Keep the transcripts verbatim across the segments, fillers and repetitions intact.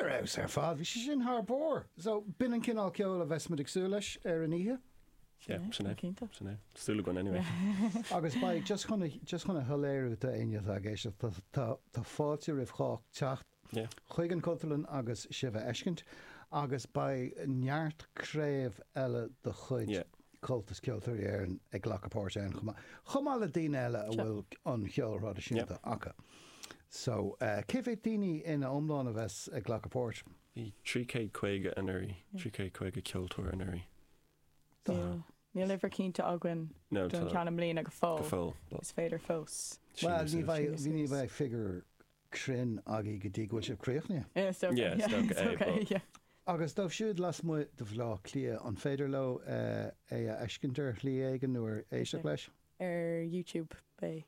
Ar fheabhas ar fad, bhí sé sin thar barr. So b'in an cineál ceoil a bheas muid ag súil leis ar an oíche. Yeah, sin é. Cinnte. Sin é. Súil againn anyway. Agus beidh just chun a- just chun a shoiléiriú d'éinne atá ag éisteacht, tá- tá tá fáilte roimh chách teacht Yeah. chuig an Cultúrlann agus sibh a fheiscint, agus beidh neart craobh eile de chuid Yeah. Comhaltas Ceoltóirí Éireann ag glacadh páirt ann chomh maith. Chomh maith le daoine eile a Sure. bhfuil an cheol thraidisiúnta acu. So, uh, cé mhéad daoine ina iomlán a bheas ag glacadh páirt? Bhí trí chéad caoga anuraidh, trí chéad caoga ceoltóir anuraidh. Níl níl uimhir cinnte againn No, don tá ceann i mbliana go go fóill. fóill. but Is féidir fós. Well, síneadh ní suas. bheidh Síneadh ní suas. bheidh figiúr cruinn agaibh go dtí go bhfuil sibh críochnaithe. Yeah, is dócha. Yeah, is dócha is é, dócha, but- yeah. Agus dóibh siúd lasmuigh de Bhaile Átha Cliath an féidir leo eh, é a fheiscint ar shlí éigin nó ar éisteacht leis? Ar YouTube beidh.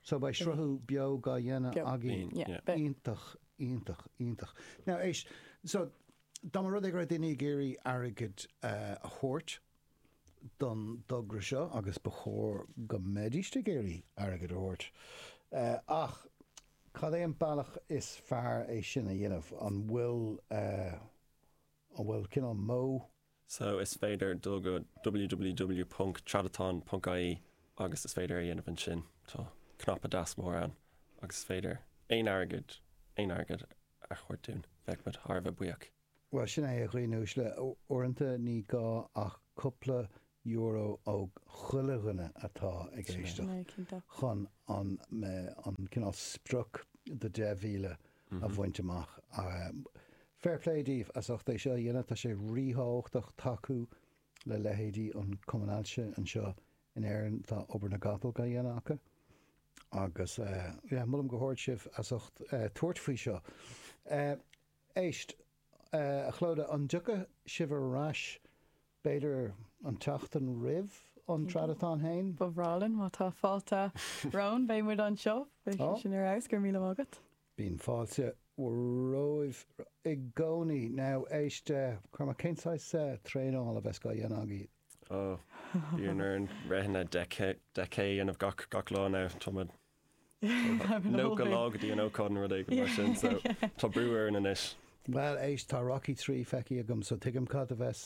So beidh sruthú beo á dhéanamh Beo. agaibh Bíonn, Yeah, yeah. beidh. iontach iontach iontach. Now éist so dá mba rud é go raibh daoine ag iarraidh airgead eh, a thabhairt don togra seo agus ba chóir go mbeidís ag iarraidh airgead a thabhairt. Eh, ach cad é an bealach is fearr é sin a dhéanamh an bhfuil eh, an bhfuil cineál modh So is féidir dul go www.tradathon.ie agus is féidir a dhéanamh ansin tá cnaipe deas mór ann agus is féidir aon airgead aon airgead a thabhairt dúinn bheadh muid thar a bheith buíoch. Well sin é a dhaoine uaisle uaireanta ní gá ach cúpla euro ó chuile dhuine atá ag Sin é. éisteacht Sin é, cinnte. chun an me- an cineál sprioc de deich mhíle a bhaint amach. Um, Fair play daoibh as ucht é seo a dhéanamh tá sé ríthábhachtach tacú le leithéidí an Cumann Ailse anseo in Éirinn tá obair na gcapall á dhéanamh acu. Agus uh, yeah, molaim go hard sibh as ucht uh, tabhairt faoi seo. Uh, éist, uh, a Chlóda an dtiocfaidh sibh ar ais b'fhéidir an tseachtain roimh an Tradathon féin? Ba bhreá linn má tá fáilte romhainn beidh muid anseo beidh Oh. sé sin ar fheabhas go raibh míle maith agat. Bíonn fáilte romhaibh i gcónaí now éist uh, Cormac cén saghas uh, traenáil a bheas á dhéanamh agaibh. Ó bíonn orainn rith deich K a dhéanamh gach gach lá now tá nócha lá go dtí an ócáid nó rud éigin mar sin so tá brú orainn anois. Well éist tá Rocky trí feicthe agam so tuigim cad a bheas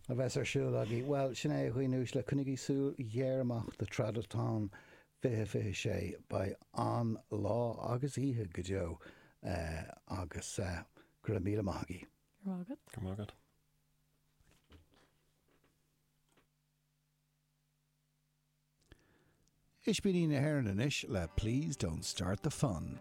a bheas ar siúl agaibh. Well sin é a dhaoine uaisle coinnigí súil ghéar amach do Tradathon fiche fiche sé beidh an lá agus oíche go deo uh, agus uh, go raibh míle maith agaibh. Go raibh agat. Go maith agat. Ispíní na hÉireann anois le Please Don't Start the Fun.